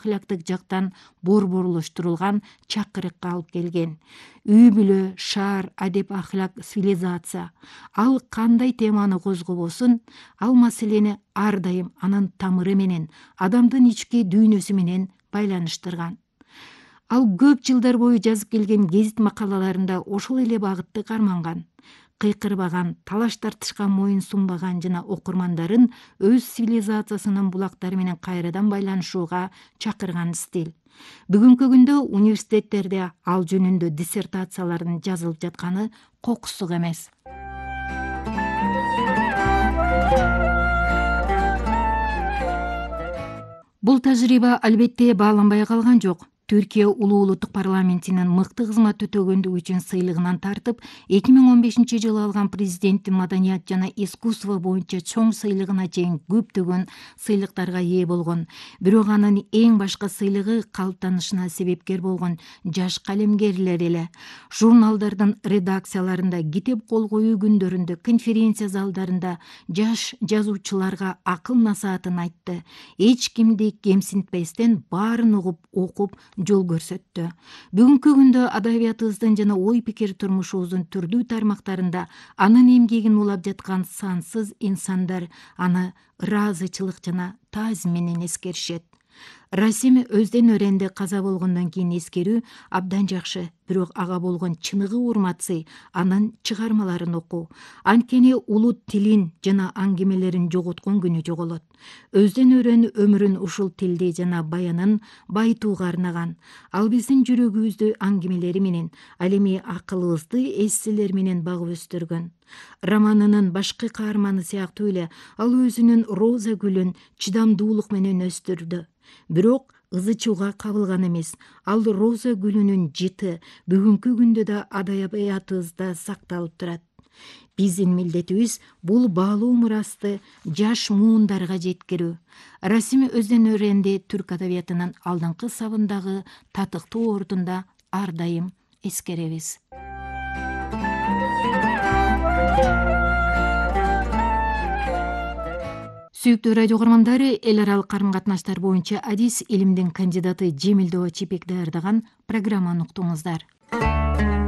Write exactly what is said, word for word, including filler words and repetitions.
акылактык жактан борборлоштурулган чакырыкка алып келген. Үй бүлө, шаар, адеп, ахлак, цивилизация. Ал кандай теманы козгобосун, ал маселени ар дайым анын тамыры менен, адамдын ички дүйнөсү менен байланыштырган. Ал көп жылдар бою жазып келген гезит макалаларында ошол эле багытты карманган. Кыйкырбаган, талаш тартышка моюн сунбаган жана окурмандарын өз цивилизациясынын булактары менен кайрадан байланышууга чакырган стиль. Бүгүнкү күндө университеттерде ал жөнүндө диссертациялардын жазылып жатканы кокусук эмес. Бул тажрыйба албетте бааланбай калган жок. Түркия улуу улуттук парламентинин мыкты кызмат өтөгөндүгү үчүн сыйлыгынан тартып, эки миң он бешинчи жылы алган президенттин маданият жана искусство боюнча чоң сыйлыгына чейин көптөгөн сыйлыктарга ээ болгон. Бирок анын эң башкы сыйлыгы калыптанышына себепкер болгон жаш калемгерлер эле. Журналдардын редакцияларында, китеп кол коюу күндөрүндө, конференция залдарында жаш жазуучуларга акыл насаатын айтты. Эч кимди кемсинтпестен баарын угуп, окуп, жол көрсөттү. Бүгүнкү күндө адабиятыбыздын жана ой пикир турмушубуздун түрдүү тармактарында анын эмгегин улап жаткан сансыз инсандар аны ыраазычылык жана таазим менен эскеришет. Расим өздөн өренде каза болгондон кийин эскерүү абдан жакшы, бирок ага болгон чыныгы урмат-сый анын чыгармаларын окуу. Анткени улут тилин жана аңгемелерин жоготкон күнү жоголот. Өздөн өрөн өмүрүн ушул тилди жана баянын байытууга арнаган. Ал биздин жүрөгүбүздү аңгемелери менен, ал эми акылыбызды эсселер менен багып өстүргөн. Романынын башкы каарманы сыяктуу эле ал өзүнүн роза гүлүн чыдамдуулук менен өстүрдү. Бирок ызы чууга кабылган эмес. Ал роза гүлүнүн жыты бүгүнкү күндө да адабиятыбызда сакталып турат. Биздин милдетибиз бул баалуу мурасты жаш муундарга жеткирүү. Расим өздөн өренде түрк адабиятынын алдыңкы сабындагы татыктуу ордунда ар дайым эскеребиз. Сүйүктүү радио көрөрмандар, эл аралык карым катнаштар боюнча адис илимдин кандидаты Жемилдөө Чепек даярдаган программаны уктуңуздар.